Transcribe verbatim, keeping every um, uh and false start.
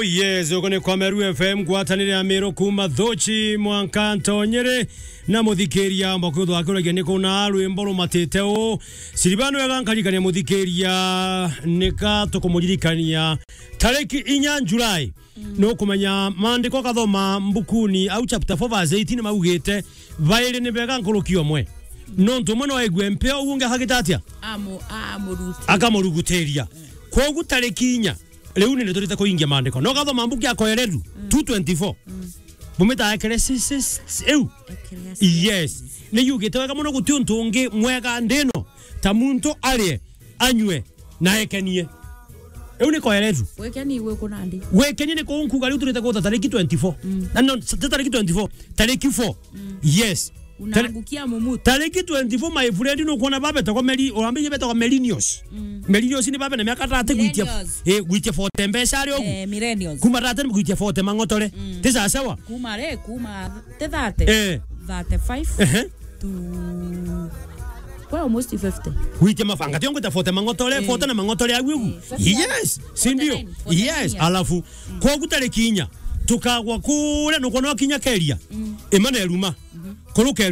Yes, uko ni kwa Meru F M, ngwatanire ya Miru kuma Thuchi mwanka Ntonyere, na muthikiria mbakwithwa akuragia ni kuna rwimbo rumatite u. Siribano wega nkarikania muthikiria, nika tukumuririkania tariki inya July. Mm. Nukumenya maandiko kathoma mbukuni au chapter four verse eighteen maugite, bairi ni bega nkuruki umwe. Nontu umwe no aigue mpeo, uu ungi akagita atia? Amu-, amuruti-, akamurugutiria. Kwogu tariki inya, riu ni turite kuingia maandiko. No kathoma mbuku ya Kohereru, mm, two twenty-four. Mm. Bumita Ecclesiastes, eu. Ecclesiastes. Yes. Ni yugite wega muno, guti untu ungi mwega ndino ta muntu arie, anyue, na ekenie. Eu ni Kohereru. Gwikenia igwe kunandi. Gwikenia ni kuu nkuga riu turite gutha tariki twenty-four. Mm. Na no, ti tariki twenty-four, tariki four. Mm. Yes. Unangukia mumutu. Tariki twenty-four, my friend, nukwona babetagwa Meli-, urambirie betagwa millennials. Mm. Millennials ni babe na miaka thirty gwitia, millennials, eh, gwitia forty mbeca ari ugu. Eh, millennials. Kuma thirty gwitia forty mang'otore. Mm. Ti sawa sawa? Kuma ri, kuma ti thirty. Eh. Thirty-five. Ehe. To, kwa almost fifty. Gwitia mabanga, tiongo ta forty mang'otore, eh, forty na mang'otore au ugu. Eh, forty. Yes, si ndio? Forty-nine, forty-nine. Yes, years. Alafu, mm, kwogu tariki inya, tukagwa kuria nukwona kinya keria. Mm. Imana eruma. Mhm. Kuruke